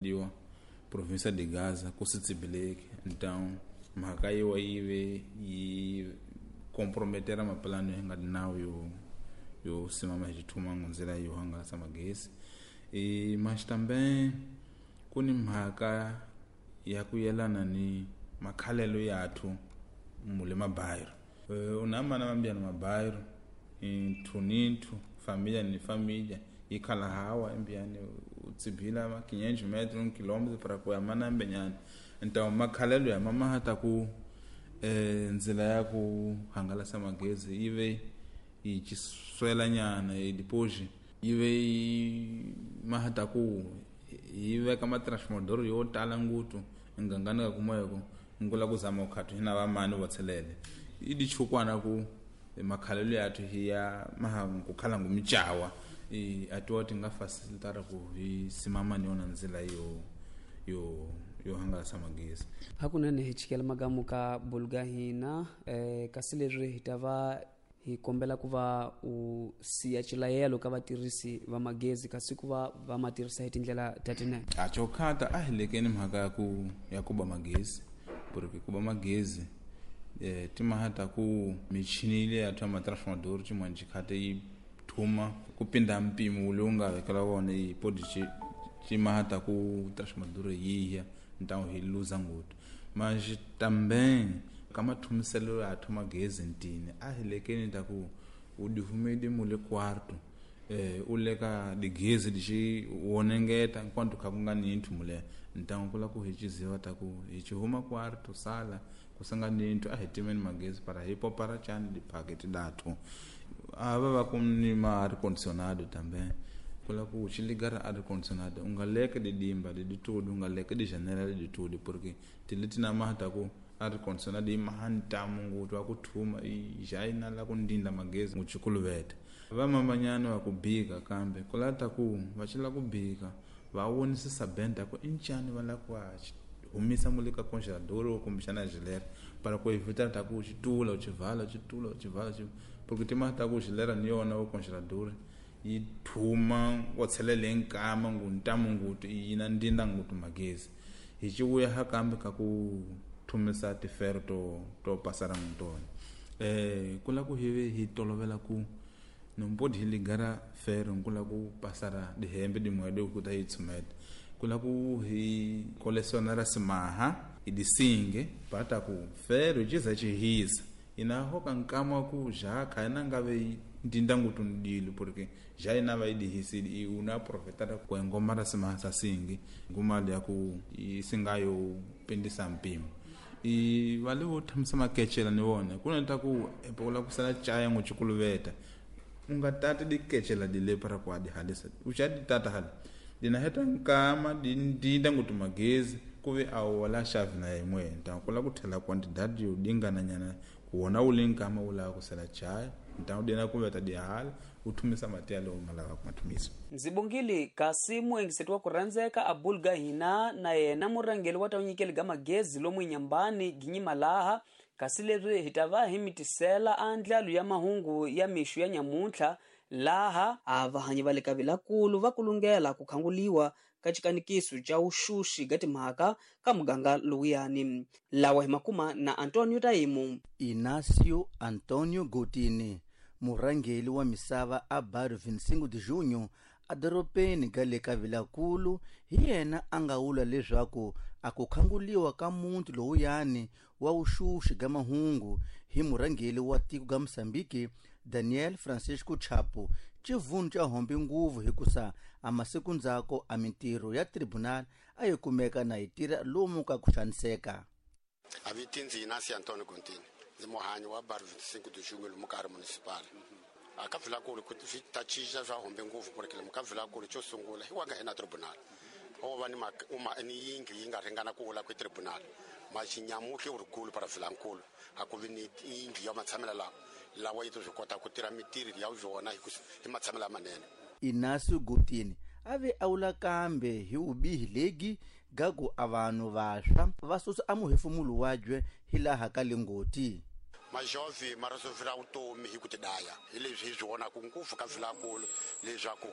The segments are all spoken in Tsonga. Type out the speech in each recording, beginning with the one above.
Diwa província de Gaza ku se tsibileki, então mhaka yiwa yi ve yi comprometera mapulani yo nga nawu yo simama hi xithumango ndzila yo hangalasa magezi. E mas também ku ni mhaka ya ku yelana ni makhalelo yathu mule mabairo. Unamana mambiyana mabairo nthu ni nthu, família ni família, ikhala hawa embiani utsibila ma 500 metros, 1 quilômetro para ku ya manambenyana. Então makhalelo ya mama ta ku ndzila ya ku hangalasa magezi yi ve yi xiswela nyana, e depois yi ve yi mahata ku yi veka matransformador yo tala nguthu ngangani ka kumweko ngula ku zama ukhathu hina vamani vo tshelele i dichukwana ku makhalelo yathu hiya maha ku khala ngumichawa i atiwa ti nga facilitara ku hi simama ni yona ndzila yo hangalasa magezi. Hakunene hi chikela magamu ka bulga hina, kasi leswi hi ta va hi kombela ku va u siya xilayelo ka vatirhisi va magezi kasi ku va va ma tirhisa hi tindlela ta tinene. A chokhata a hi lekeni mhaka ya ku ba magezi, porque ku ba magezi timhaka ku michini leyi ya thoma transformador xin'wana xikhate yi thuma ku pinda mpimo lowu nga vekela wona yi podi timhaka ku transformador yi ya ntawo hi luza ngopfu. Mas também ka mathumiselo ya thoma gezi ntini a hi lekeni ta ku u dihumedi mule quarto, u leka digezi lexi wonengeta enquanto kha ku nga ni nthu mule ntango ku la ku hi ciziwa ta ku hi ci huma quarto sala ku sanga ni nthu a hi timeni magezi para hi popara chani diphaketi dathu a va va ku ni ma air condicionado também ku la ku xi ligara air condicionado u nga leke didimba diditudi u nga leke dijanela diditudi porque tileti na mata ku air condicionado yi maha ntamu nguthu wa ku thuma i jaina la ku ndinda magezi nguchikuluveta. Vamamanyana va ku bika kambe ku lata ku va xila ku bika va vonisisa benda ku i ncani va lava ku va humisa mule ka congelador kumbexana gilera para ku evita ta ku xitula u xivala xitula u xivala porque timhaka ta ku gilera ni yona wa congelador yi thuma wa tshelele nkama ngu ntamu ngutu yi na ndinda ngutu magezi. Hi ci vuya ha kambe ka ku thumisa tifero to pasara ngutona. Ku la ku hi hi tolovela ku nombodi hi ligara fero ku la ku pasara dihembe dimwede ku ta yi tshumeta. Ku la ku hi kolesona ra simaha hi disinge pata ku fero jiza chihisa ina hoka nkama ku jaka ina ngave ndinda ngutu ndilo porque ja ina va idihisi i una profetara ku ngoma ra simaha sa singi ngumali ya ku isingayo pindisa mpimo. I vale vo thamisa makechela ni vona ku na ta ku epola ku sala chaya nguchikuluveta u nga tati dikechela di le para ku adi halisa u xa di tata hala dina heta nkama di ndinda ngutu magezi ku ve a wala xavi na yin'we ntango ku la ku tlhela quantidade yo dingana nyana ku wona wu le nkama wu lava ku sala chaya ntango dina ku veta di hala u thumisa mati ya lowu nga lava ku ma thumisa. Ndzi bongile kasi muengiseti wa ku rhandzeka a bulga hina na yena murhangeri wa ta nyikeli ga magezi lomu Nyambani Ginyima laha kasi leswi hi ta va hi mitisela andlalo ya mahungu ya mixo ya nyamuntlha laha a vahanyi va le ka Vilakulu va kulungela ku khanguliwa ka xikanikiso xa vuxuxi ga timhaka ka muganga lowuyani. Lawa hi makuma na Antonio Taimu. Inácio Antonio Gotini, murhangeri wa misava a Bairro 25 de Junho edorobeni ga le ka Vilakulu, hi yena a nga vula leswaku a ku khanguliwa ka muti lowuyani wa vuxuxi ga mahungu hi murhangeri wa tiko ga Mozambique Daniel Francisco Chapo xivundu xa hombe nguvu hikusa a masiku ndzhaku a mintirho ya tribunal a yi kumeka na yi tirha lomu ka ku xaniseka. A viti ndzi Inácio Antonio Gontini, ndzi muhanyi wa Bairro 25 de Junho lomu ka ri municipal. A ka Vilakulu ku swi ta cinca swa hombe nguvu porque lomu ka Vilakulu xo sungula hi wa nga hina tribunal. O va ni ni yindlu yi nga ringana ku wula ku tribunal. Mas nyamuhli wu ri kulu para Vilankulu a ku vi ni yindlu ya matshamelo lawa lawa yi to swi kota ku tirha mitirho ya yona hi matshamelo lamanene. Inácio Gotini a ve a wula kambe hi vubihi legi gaku a vanhu vantshwa va susa a muhefemulo wabye hi laha ka lingoti. Majovhi ma resolvela vutomi hi ku tidaya hi leswi hi swi vonaka ngopfu ka Vilakulu leswaku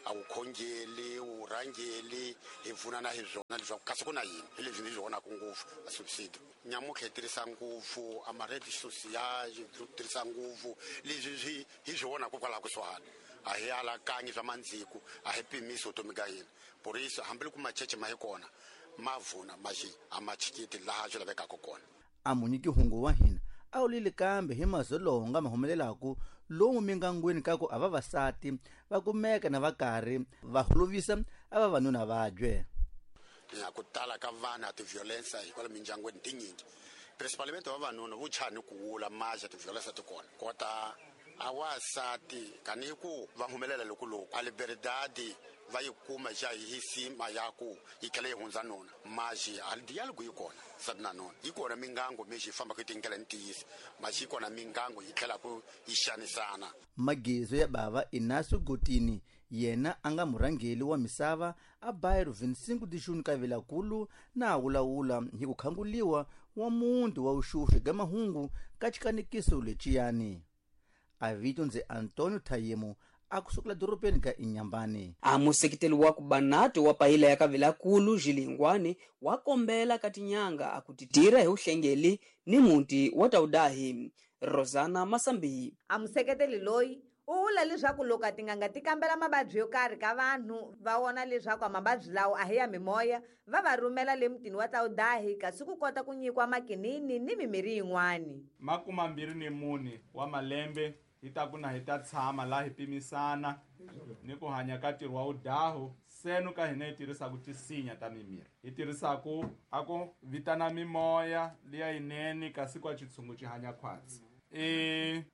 A wu khongeli, wu rhangeli, hi pfunana hi swona leswaku kasi ku na yini hi leswi ni swi vonaka ngopfu a subsidio. Nyamutlha hi tirhisa ngopfu a ma-rede social, hi tirhisa ngopfu leswi swi hi swi vonaka kwalaho kusuhani. A hi alakanyi swa mandziku, a hi pimisi vutomi ka hina. Por isso hambiloko macheche ma hi kona ma vuna maxi a ma chikiti laha swi lavekaka kona. A munyiki hungu wa hina a wu lili kambe hi mazolonga ma humelelaku lomu mingangweni ka ku a vavasati va kumeka na va karhi va holovisa a vavanuna vabye. Ya ku tala ka vana ti-violence hikwalaho mindyangwini tinyingi, principalmente vavanuna vo chani ku wula maxa ti-violence ti kona kota a wasati kani ku va humelela loko loko a liberdade va yi kuma xa hi sima ya ku yi tlhela yi hundza nuna maxi a dialogue yi kona sati na nuna yi kona mingango mexi yi fambaka yi tindlela ni tiyisa maxi yi kona mingango yi tlhelaku yi xanisana. Magizo ya bava Inácio Gotini yena a nga murhangeli wa misava a bairro 25 de Junho ka Vilankulu na a wulawula hi ku khanguliwa wa muti wa vuxuxu ga mahungu ka xikanekiso leciyani. A vito ndzi Antonio Thayemo a kusukela dorobeni ka Inhambane. A museketeli wa ku Banato wa payila ya ka Vilankulu Xilingwani wa kombela ka tinyanga a ku titira hi uhlengeli ni muti wa Taudahi. Rosana Masambi. A museketeli loyi u vula leswaku loko tinganga ti kambela mavabyi yo karhi ka vanhu va vona leswaku mavabyi lawo a hi ya mimoya va va rhumela le mutini wa Taudahi kasi ku kota ku nyikiwa makinini ni mimirhi yin'wani. 24 wa malembe hi ta ku na hi ta tshama laha hi pimisana ni ku hanya ka ntirho wa vudahu senu ka hina hi tirhisaku tisinya ta mimirhi hi tirhisaku a ku vitana mimoya liya yinene kasi kwa xitshungu xi hanya khwatsi.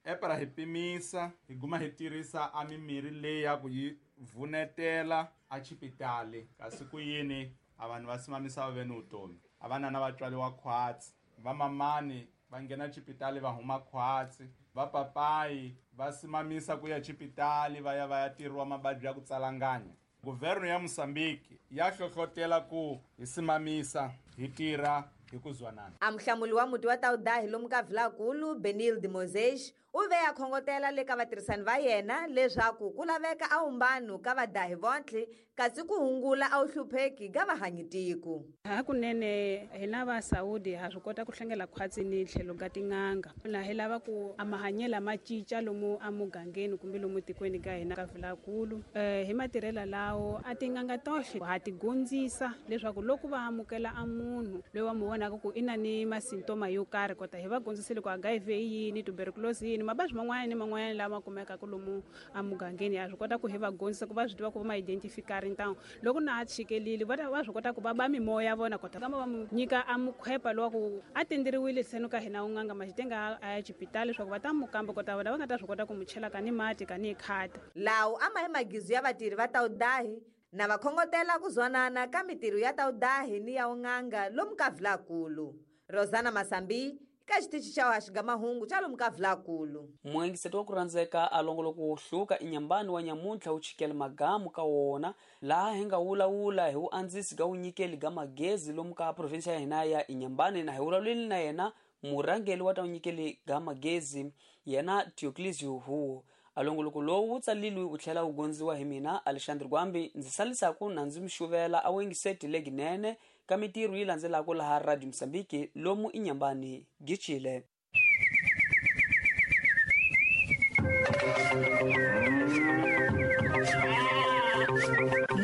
Epera hi pimisa hi guma hi tirhisa a mimirhi leyi ya ku yi vunetela a xipitali kasi ku yini a vanhu va simamisa va ve ni vutomi a vanana va tswariwa khwatsi vamamani va nghena xipitali va huma khwatsi vapapayi va simamisa ku ya xipitali va ya va ya tirhiwa mavabyi ya ku tsalanganya. Guvherno ya Mozambique ya hlohlotela ku hi simamisa hi tirha hi ku zwanana. A muhlamuli wa muti wa Taudahi lomu ka Vilankulu Benilde Moses u ve a khongotela le ka vatirhisani va yena leswaku ku laveka a umbano ka vadahi vontlhe kasi ku hungula a wu hlupheki ka vahanyi tiko. Hakunene hina va Saudi ha swi kota ku hlengela khwatsi ni tlhelo ka tin'anga na hi lava ku a mahanyelo ma cinca lomu emugangeni kumbe lomu tikweni ka hina ka Vilankulu. Hi matirhelo lawo a tin'anga tohle ha ti gondzisa leswaku loko va amukela a munhu loyi wa mu vonaka ku i na ni masintoma yo karhi kota hi va gondzisile ku HIV yini, tuberculosis yini, mavabyi man'wana ni man'wana lama kumekaka lomu emugangeni ha swi kota ku hi va gondzisa ku va swi tiva ku va ma identify ntango loko na a tshikelile va swi kota ku va ba mimoya ya vona kota kamba va mu nyika a mukhwepa lowa ku a tenderiwile senu ka hina un'anga maxitenga a ya xipitali leswaku va ta mu kamba kota vona va nga ta swi kota ku mu chela ka ni mati ka ni khata. Lawo a ma hi magizu ya vatirhi va Taudahi na va khongotela ku zwanana ka mitirho ya Taudahi ni ya un'anga lomu ka Vilankulu. Rosana Masambi ka xitichi xa haxiga mahungu xa lomu ka Vilankulu. Muengiseti wa ku rhandzeka a longoloko wo hluka Inhambane wa nyamuntlha wu chikela magamu ka wona laha hi nga wulawula hi vuandzisi ka vunyikeli ga magezi lomu ka provinsi ya hina ya Inhambane na hi vulavuleli na yena murhangeli wa ta vunyikeli ga magezi yena Dioclesio Huo. A longoloko lowu wu tsalilwe wu tlhela wu gondziwa hi mina Alexandre Gwambi ndzi salisaku na ndzi mi xuvela a wengiseti leginene ka mitirho yi landzelaka laha Radio Mozambique lomu Inhambane gichile.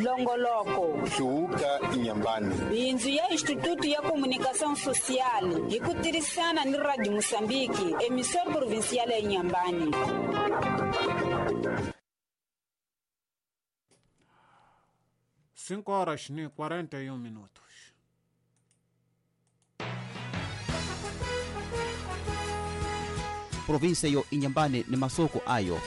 Longoloko Hluvuka Inhambane. Bindzu ya Instituto ya Comunicação Social hi ku tirhisana ni Radio Mozambique, emissora provincial ya Inhambane. 5 horas e 41 minutos. Província yo Inhambane ni masoko ayo.